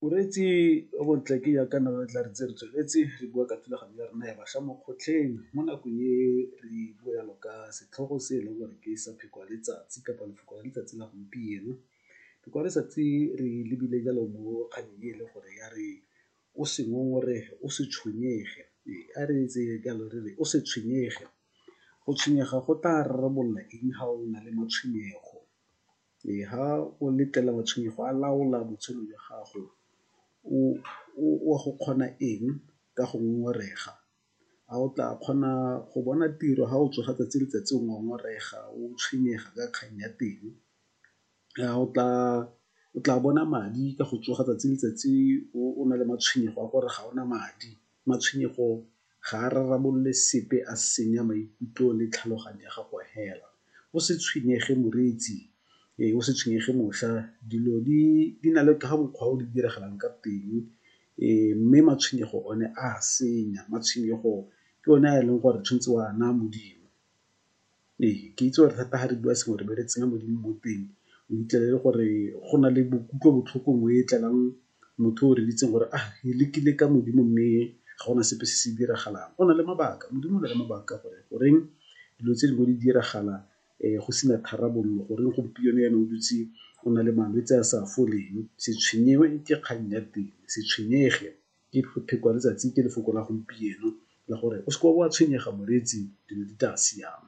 Moreetsi o montle ke jaaka ne re tla re ntse re tsweletse re bua ka thulaganyo ya rona ya bašwa mo kgotlheng. Mo nakong e re bua jalo ka setlhogo se e leng gore ke sa pheko ya letsatsi kapa lefoko la letsatsi la gompieno. Pheko ya letsatsi re lebile jalo mo kgannyeng e le gore ya re o se ngongorege, o se tshwenyege, ee a re e tseye jalo re re o se tshwenyege. Go tshwenyega go tla rarabolola eng ga o na le matshwenyego, ee ga o letlelela matshwenyego a laola botshelo jwa gago o a go kgona eng ka go ngongorega, a o tla kgona go bona tiro ga o tsoga 'tsatsi le letsatsi o ngongorega o tshwenyega ka kgang ya teng, a o tla bona madi ka go tsoga 'tsatsi le letsatsi o na le matshwenyego a gore ga ona madi. Matshwenyego ga a rarabolole sepe a senya maikutlo le tlhaloganyo ya gago fela, o se tshwenyege moreetsi, ee o se tshwenyege mošwa dilo di na le ka mokgwa o di diragalang ka teng mme matshwenyego one a senya, matshwenyego ke one a e leng gore tshwanetse o a naya Modimo. Ee, ke itse gore thata ga re bua sengwe re be re tsenya Modimo mo teng o fitlhelele gore go na le bo kutlobotlhoko nngwe e tlelang motho o reeditseng gore ah ke lekile ka Modimo mme ga gona sepe se se diragalang. O na le mabaka, Modimo o na le mabaka gore goreng dilo tse dingwe di diragala go sena tharabololo, goreng gompieno jaana o dutse o na le malwetse a sa foleng, se ke kgang ya teng, se tshwenyege ke pheko ya letsatsi ke lefoko la gompieno la gore o seke wa tshwenyega moreetsi dilo di tla siama.